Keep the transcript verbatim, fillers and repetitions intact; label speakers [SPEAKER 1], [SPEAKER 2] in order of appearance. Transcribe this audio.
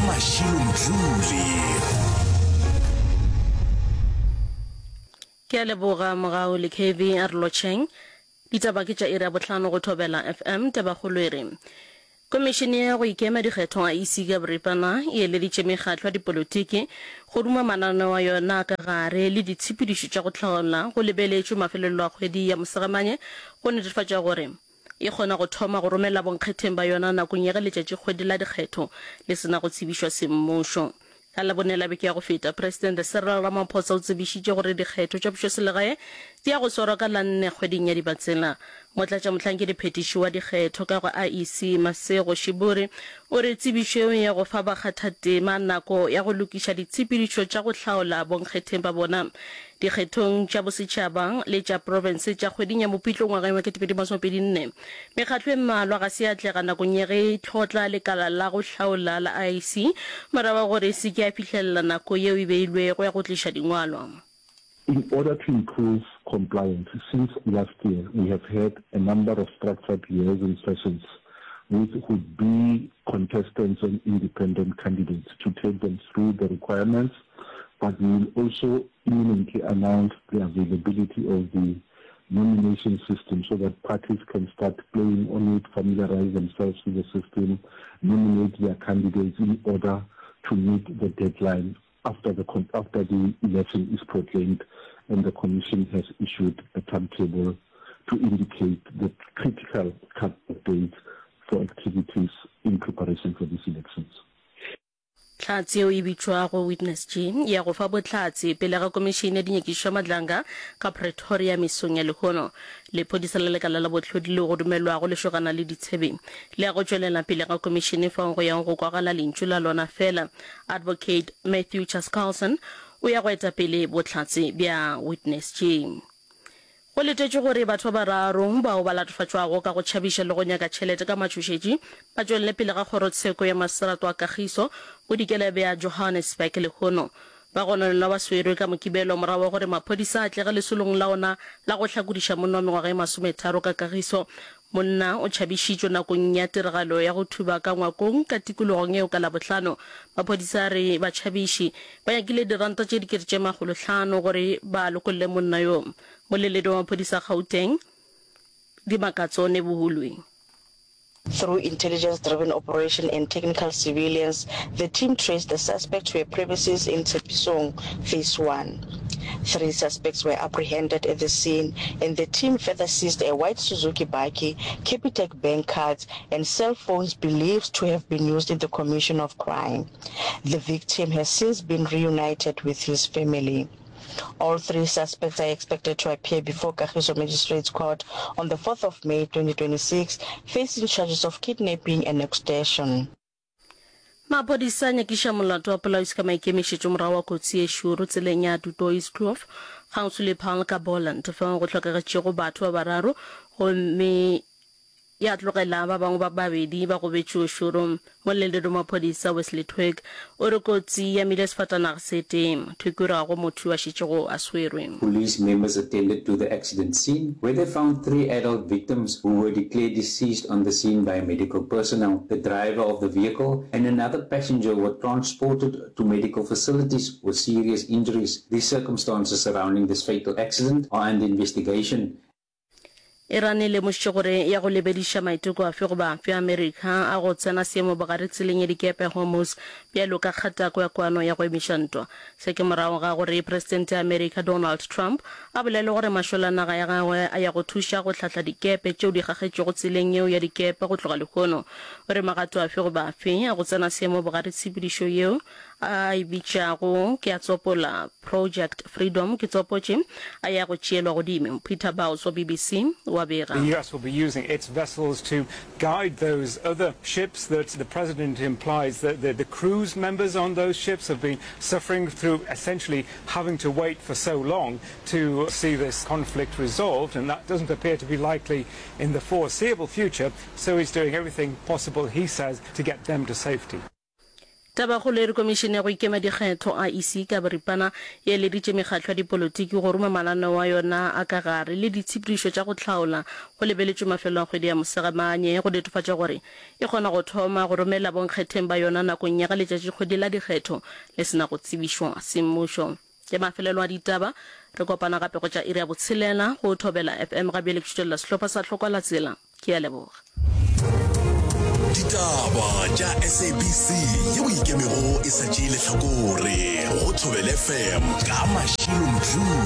[SPEAKER 1] Mashilo Mdluli.
[SPEAKER 2] Ke a leboga Mogau le K V a re lotšheng. Ditaba ke tša iri ya bohlano go Thobela F M. Tabakgolo e re Komišene ya go Ikema Dikgetho, I E C ka boripana, e eleditše mekgatlo ya dipolotiki go ruma mananeo a yona a ka gare le ditshepedišo tša go hlaola go lebeletšwe mafelelo a kgwedi ya Mosegamanye go netefatša gore e kgona go thoma go romela bonkgetheng ba yona nakong ya ge letšatšikgwedi la dikgetho le se na go tsebišwa semmušo. Ka Labone la beke ya go feta, Presidente Cyril Ramaphosa o tsebišitše gore dikgetho tša pušoselegae di ya go swarwa ka la nne kgweding ya Dibatsela. Motlatšamohlankediphetiši wa dikgetho ka go I E C Masego Shiburi o re tsebišo yeo ya go fa bakgathatema nako ya go lokiša ditshepedišo tša go hlaola bonkgetheng ba bona dikgethong tša bosetšhaba le tša profense tša kgweding ya Mopitlo ngwageng wa kete pedi masomepedi nne. Mekgatlo e mmalwa ga se ya atlega nakong ya ge e tlhotla lekala la go hlaola la I E C morago ga gore e se ke ya fihlelela nako yeo e beilwego ya go tliša dingwalwa.
[SPEAKER 3] In order to improve compliance, since last year we have had a number of structured liaison sessions with would-be contestants and independent candidates to take them through the requirements, but we will also imminently announce the availability of the nomination system so that parties can start playing on it, familiarize themselves with the system, nominate their candidates in order to meet the deadline after the, after the election is proclaimed and the commission has issued a timetable to indicate the critical cut-off dates for activities in preparation for these elections.
[SPEAKER 2] Hlatse yeo e bitšwago Witness G ya go fa bohlatse pele ga Komišene ya Dinyakišišo ya Madlanga ka Pretoria mesong ya lehono. Lephodisa la lekala la bohlodi leo go dumelwago le šogana le ditshebe le ya go tšwelela pele ga komišene fao go yang go kwagala lentšu la lona fela. Advocate Matthew Chaskalson o ya go eta pele bohlatse bja Witness G. Go letetšwe gore batho ba bararo bao ba latofatšwago ka go tšhabiša le go nyaka tšhelete ka matšhošetši ba tšwelele pele ga kgorotsheko ya maseterata wa Kagiso bodikela bja Johannesburg lehono. Bagononelwa ba swerwe ka Mokibelo morago ga gore maphodisa a atlege lesolong la ona la go hlakodiša monna wa mengwaga e masometharo ka Kagiso. Monna o tšhabišitšwe nakong ya tiragalo ya go thuba ka ngwakong ka tikologong yeo ka Labohlano. Maphodisa a re batšhabiši ba nyakile diranta tše dikete tše makgolohlano gore ba lokolle monna yo. Moleledi wa maphodisa Gauteng, Dimakatso Nevhuhulwi.
[SPEAKER 4] Through intelligence-driven operation and technical surveillance, the team traced the suspect to a premises in Tshepisong, Phase one. Three suspects were apprehended at the scene, and the team further seized a white Suzuki bakkie, Capitec bank cards, and cell phones believed to have been used in the commission of crime. The victim has since been reunited with his family. All three suspects are expected to appear before Kagiso Magistrates Court on the fourth of May twenty twenty-six, facing charges of kidnapping and extortion.
[SPEAKER 2] Maphodisa a nyakiša molato wa polao e se ka maikemišetšo morago wa kotsi ye šoro tseleng ya Du Toitskloof kgauswi le Paarl ka Boland fao go hlokagetšego batho ba bararo gomme ya tlogela ba bangwe ba babedi ba gobetše o šoro. Moleledi wa maphodisa Wesley Twigg o re kotsi e amile sefatanaga se tee. Twigg o re ga go motho yo a šetšego a swerwe.
[SPEAKER 5] Police members attended to the accident scene where they found three adult victims who were declared deceased on the scene by medical personnel. The driver of the vehicle and another passenger were transported to medical facilities with serious injuries. The circumstances surrounding this fatal accident are under investigation.
[SPEAKER 2] Iran e lemošitše gore ya go lebediša maiteko afe goba afe a Amerika a go tsena seemo bogare tseleng ya dikepe Hormuz bjalo ka kgatako ya kwano ya go emiša ntwa. Se ke morago ga gore Presidente ya Amerika Donald Trump a bolele gore mašole a naga ya gagwe a ya go thuša go hlahla dikepe tšeo di gagetšwego tseleng yeo ya dikepe go tloga lehono. O re magato afe goba afe a go tsena seemo bogare tshepedišo yeo a e bitšago, ke a tsopola, Project Freedom, ke tsopotše, a ya go tšeelwa godimo. Peter Bowes wa B B C wa bega.
[SPEAKER 6] The U S will be using its vessels to guide those other ships that the president implies that the, the crews members on those ships have been suffering through essentially having to wait for so long to see this conflict resolved, and that doesn't appear to be likely in the foreseeable future, so he's doing everything possible, he says, to get them to safety.
[SPEAKER 2] Tabakgolo e re Komišene ya go Ikema Dikgetho, IEC, ka boripana e eleditše mekgatlo ya dipolotiki go ruma mananeo a yona a ka gare le ditshepedišo tša go hlaola go lebeletšwe mafelo a kgwedi ya Mosegamanye go netefatša gore e kgona go thoma go romela bonkgetheng ba yona nakong ya ge letšatšikgwedi la dikgetho le se na go tsebišwa semmušo. Ke mafelelo a ditaba. Re kopana gape go tša iri ya botshelela go Thobela FM. Ga bjale ke šutelela sehlopha sa Hlokwa la Tsela. Ke a leboga.
[SPEAKER 1] Ditaba tša SABC yeo e ikemego e sa tšee lehlakore go Thobela FM ka Mashilo Mdluli.